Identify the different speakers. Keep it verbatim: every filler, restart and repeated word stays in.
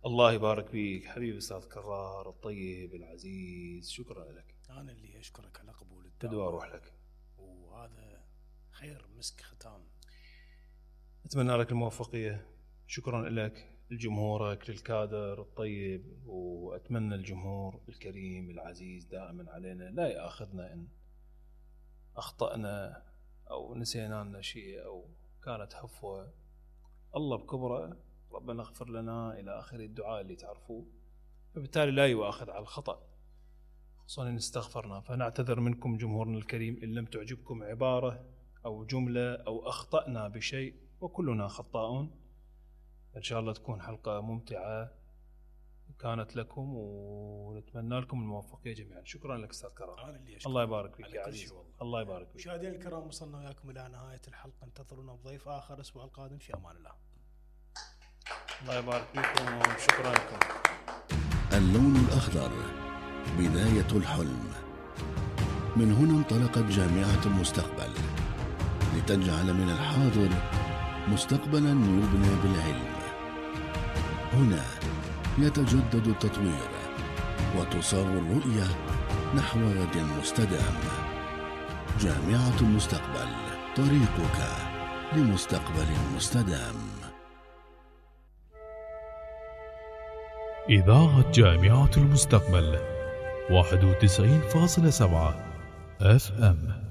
Speaker 1: الله يبارك فيك حبيبي أستاذ كرار الطيب العزيز، شكرا لك.
Speaker 2: أنا اللي أشكرك على قبول الدعوة،
Speaker 1: بدو أروح لك،
Speaker 2: وهذا خير مسك ختام.
Speaker 1: أتمنى لك الموفقية، شكرا لك لجمهورك للكادر الطيب، وأتمنى الجمهور الكريم العزيز دائما علينا لا يأخذنا إن أخطأنا أو نسينا لنا شيء أو كانت هفوة. الله بكبره ربنا اغفر لنا إلى آخر الدعاء اللي تعرفوه، فبالتالي لا يؤاخذ على الخطأ، خصوصا إن استغفرنا. فنعتذر منكم جمهورنا الكريم إن لم تعجبكم عبارة أو جملة أو أخطأنا بشيء، وكلنا خطاؤون. إن شاء الله تكون حلقة ممتعة كانت لكم، ونتمنى لكم الموفقية جميعا. شكرا لك أستاذ كرام، الله يبارك فيك يا عزيز، الله يبارك فيك.
Speaker 2: مشاهدينا الكرام، وصلنا وياكم إلى نهاية الحلقة، انتظرونا بضيف آخر الأسبوع القادم، في أمان الله.
Speaker 1: الله يبارك فيكم وشكرا لكم.
Speaker 3: اللون الأخضر بداية الحلم. من هنا انطلقت جامعة المستقبل لتجعل من الحاضر مستقبلا يبنى بالعلم. هنا يتجدد التطوير وتصاغ الرؤية نحو غد مستدام. جامعة المستقبل، طريقك لمستقبل مستدام.
Speaker 4: إذاعة جامعة المستقبل واحد وتسعين فاصلة سبعة اف ام.